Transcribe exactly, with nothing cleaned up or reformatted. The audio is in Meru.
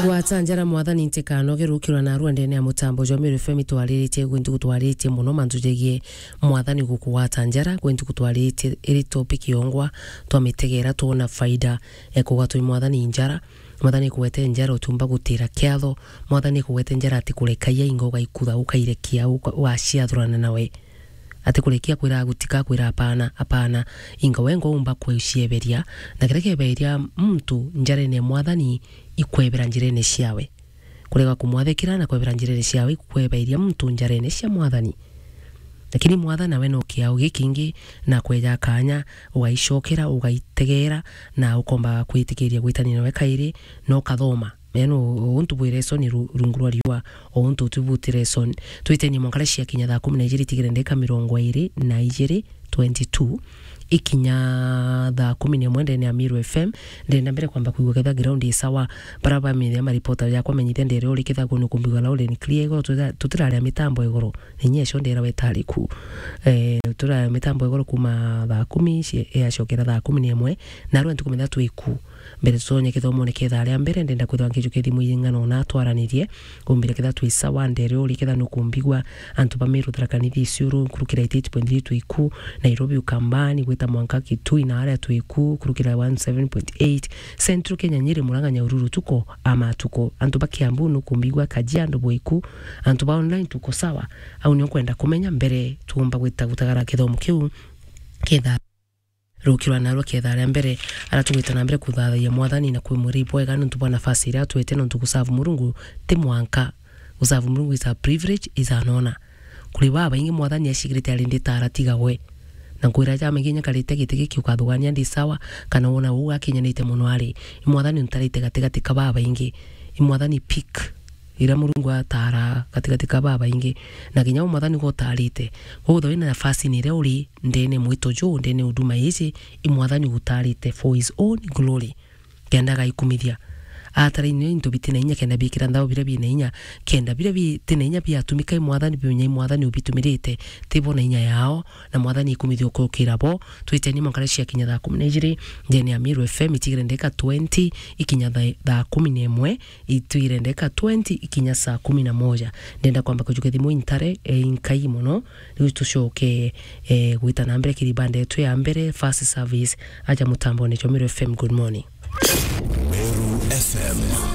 Gwata njara Mwathani ntikanoge rukirwa na rua ndene ya mutambo jwa Meru F M itwariritie gwintu gutwariritie muno mantu jegie Mwathani gukugwata njara gwintu gutwariritie iri topic yongwa twamitegera twona faida ya kugwatwa i Mwathani njara. Mwathani kugwete njara utumba gutira kiatho. Mwathani kugwete njara ati kurekaia ingo ugaikutha ukairekia uka- ugaciathurana nawe. Ati kurekia kwira gutika kwira apana, apana. Inga we ngo umba kwicieberia, na kiria kieberia muntu njarene ya Mwathani ikwebera njirene ciawe. Kurega kumwathikira na kwebera njirene ciawe ikwebairia muntu njarene cia Mwathani. Lakini Mwathani nawe no kiao gikingi na kweja kanya, ugaicokera, ugaitegera, na ukomba kwitikiria gwitania nawe kairi, na ukathoma. Yaani, u-, untu bwi lesson ru-, rungu rwa riua, o untu uti buti lesson. Twitenie mwanka cia kinya thaa kumi na ijiri tigire ndeka mirongo iri na ijiri, twenty-two, ikinya thaa kumi na imwe ndene ya Meru F M. Ndenda mbere kwamba kwigua ketha ground i sawa. Bara bamenya maripota yakwa menyithia ndere uri ketha kunu kumbiga loud and clear igoro, tuta-, tutiraria mitambo igoro. Na inya icio ndera wetari ku. Eh, turaria mitambo igoro kuma thaa kumi, cie-, yacokera thaa kumi na imwe. Na rwe ntukumenya twi ku. Mbere tutonye kithomone ketha aria mbere, ndenda kwithwa nkijukia thimu ing'ana ona atwaranirie. Umbire ketha twi sawa, ndere uri ketha nukumbigwa. Antu ba Meru, Tharaka Nithi, Isiolo, kurukira eighty-eight point three twi ku. Nairobi, Ukambani, gwita mwanka Kitui na aria twi ku, kurukira one seven point eight. Central Kenya, Nyeri, Murang'a, Nyahururu, tuko ama tuko. Antu ba Kiambu nukumbigwa, Kajiado bwi ku. Antu ba online tuko sawa. Au nio nkwenda kumenya mbere tuumba gwita gutagara kithomo kiu. Ketha rukirwa narua ketha aria mbere, aria tugwita na mbere kuthathaia Mwathani na kwi mwiri bwega nontu bwa nafasi iria atwete nontu gusavu Murungu ti mwanka. Gusavu Murungu is a privilege, is an honor. Kuri babaingi Mwathani acigirite ari nditara tiga gwe. Na nkwira ja maingi nyakarite giti giki ukathugania ndi sawa, kana wona uu akinyanite mono ari. I Mwathani untarite gatigati ka babaingi. I Mwathani peak. Iria Murungu atara gatigati ka babaingi, na kinya u Mwathani gutarite. Koguo wina nafasi ni iria uri ndene mwito juu, ndene uduma iji, i Mwathani gutarite for his own glory. Kenda gaikumithia. Atara inyo into biti na inya kenda bikira nthao biria bina inya, kenda biria biti na inya biatumika i Mwathani, biunya i Mwathani ubitumirite, tibo na inya yao, na Mwathani ikumithia ukukira bo. Twiteni mwankare cia kinya thaa kumi na ijiri, ndene ya Meru F M itigire ndeka twenty, ikinya thaa, thaa kumi na imwe, itwire ndeka twenty ikinya saa kumi na moja. Ndenda kwamba kujukia thimu intare, e, inkai mono. Riu tucoke, e, gwita na mbere kiri banda yetu ya mbere, first service, aja mutambone jwa Meru F M. Good morning. Meru F M.